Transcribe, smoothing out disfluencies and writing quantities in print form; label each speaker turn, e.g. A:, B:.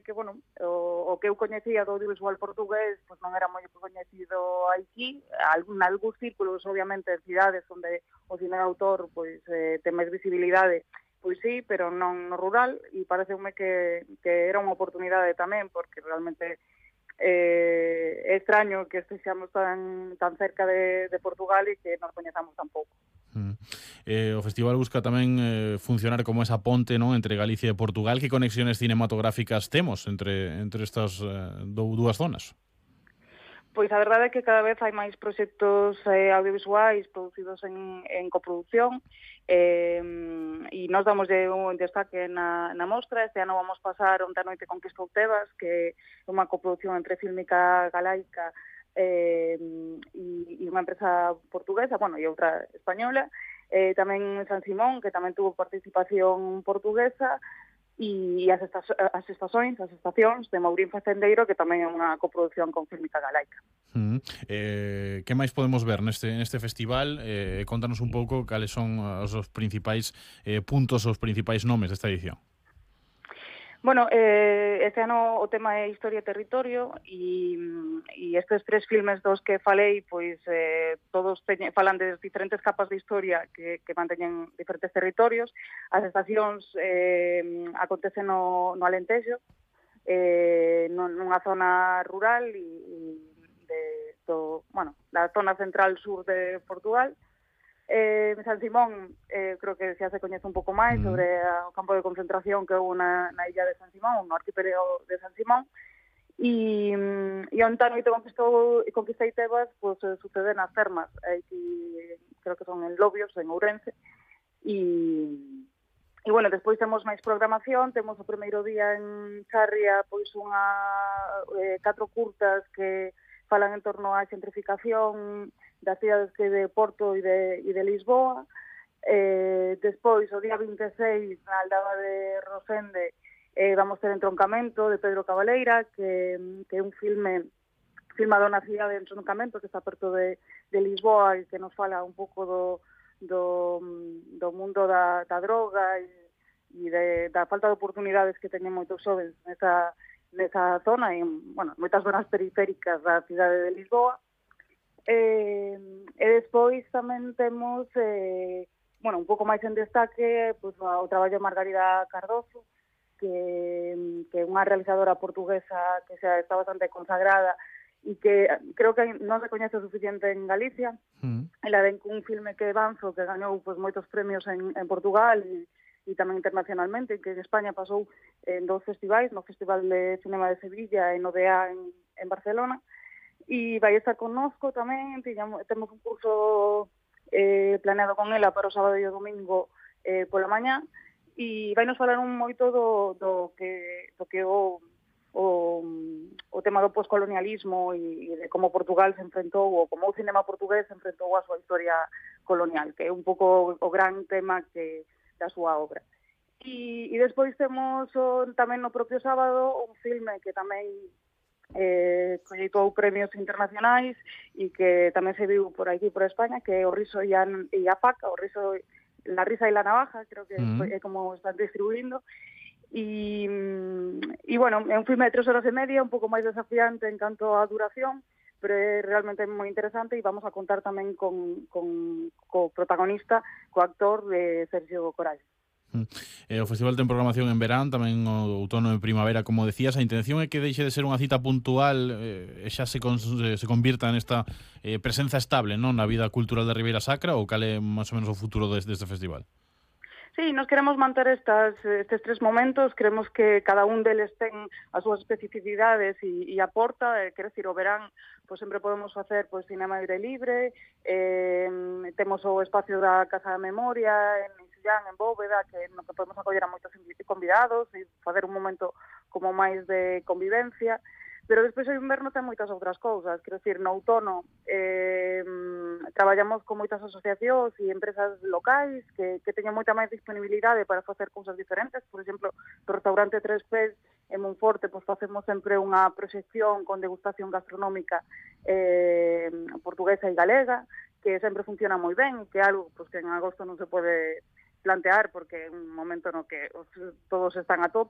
A: que bueno, o que eu coñecía do audiovisual portugués pois non era moi coñecido aquí, algúns círculos, obviamente, en cidades onde o cine de autor pois ten máis visibilidade, pois sí, pero non no rural, e pareceume que era unha oportunidade tamén, porque realmente é extraño que estexamos tan cerca de Portugal e que non coñezamos tan pouco.
B: O festival busca tamén funcionar como esa ponte, non, entre Galicia e Portugal. Que conexiones cinematográficas temos entre estas dúas zonas?
A: Pois a verdade é que cada vez hai máis proxectos audiovisuais producidos en coproducción, e nós damos un destaque na mostra. Este ano vamos pasar Onde a noite conquistou Tebas, que é unha coproducción entre Fílmica Galaica e unha empresa portuguesa, bueno, e outra española, tamén San Simón, que tamén tuvo participación portuguesa, e as estacións de Mourín Facendeiro, que tamén é unha coproducción con Fílmica Galaica.
B: Que máis podemos ver neste festival? Contanos un pouco cales son os principais puntos, os principais nomes desta edición.
A: Bueno, este ano o tema é Historia e Territorio, e estes 3 filmes dos que falei, pois todos falan de diferentes capas de historia que manteñen diferentes territorios. As estacións acontecen no Alentejo, nunha zona rural da zona central sur de Portugal. San Simón, creo que xa se coñece un pouco máis sobre o campo de concentración que houve na illa de San Simón, no arquipélago de San Simón, e Onde a noite conquistei Tebas, pois sucede nas termas, creo que son en Lobios, en Ourense, e bueno, despois temos máis programación. Temos o primeiro día en Charria, pois 4 curtas que falan en torno á xentrificación das cidades de Porto e de Lisboa. Despois, o día 26, na aldaba de Rosende, vamos ter Entroncamento, de Pedro Cabaleira, que é un filme filmado na cidade de Entroncamento, que está perto de Lisboa, e que nos fala un pouco do mundo da droga e da falta de oportunidades que teñen moitos xovens nesa zona, e, bueno, moitas zonas periféricas da cidade de Lisboa. E despois tamén temos un pouco máis en destaque pois o traballo de Margarida Cardoso, que é unha realizadora portuguesa que xa está bastante consagrada e que creo que non se coñece o suficiente en Galicia. Ela ven cun filme que é Banzo, que gañou pois moitos premios en Portugal e tamén internacionalmente, que en España pasou en 2 festivais, no Festival de Cinema de Sevilla e no DEA en Barcelona. E vai estar connosco tamén. Temos un curso planeado con ela para o sábado e o domingo pola mañá, e vai nos falar un moito do que o tema do poscolonialismo e de como Portugal se enfrentou, ou como o cinema portugués se enfrentou a súa historia colonial, que é un pouco o gran tema da súa obra. E despois temos tamén no propio sábado un filme que tamén colleitou premios internacionais e que tamén se viu por aquí, por España, que é O riso e a faca, La risa e la navaja, creo que é como están distribuindo. E bueno, é un filme de 3 horas e media, un pouco máis desafiante en canto á duración, pero é realmente moi interesante, e vamos a contar tamén co protagonista, co actor de Sergio Coral.
B: O festival ten programación en verán, tamén o outono e primavera, como decías. A intención é que deixe de ser unha cita puntual e xa se convirta nesta presenza estable, non, na vida cultural da Ribeira Sacra, ou cal é máis ou menos o futuro deste festival?
A: Sí, nos queremos manter estes 3 momentos. Queremos que cada un deles ten as súas especificidades e aporta. Quero dicir, o verán pois sempre podemos facer pois cinema aire libre, temos o espacio da Casa da Memoria en en Bóveda, no que podemos acoller a moitos convidados e facer un momento como máis de convivencia. Pero despois o inverno ten moitas outras cousas. Quero dicir, no outono traballamos con moitas asociacións e empresas locais que teñen moita máis disponibilidade para facer cousas diferentes. Por exemplo, do restaurante Tres Pés en Monforte pois facemos sempre unha proxección con degustación gastronómica portuguesa e galega, que sempre funciona moi ben, que é algo pois, que en agosto non se pode plantear porque é un momento no que todos están a tope.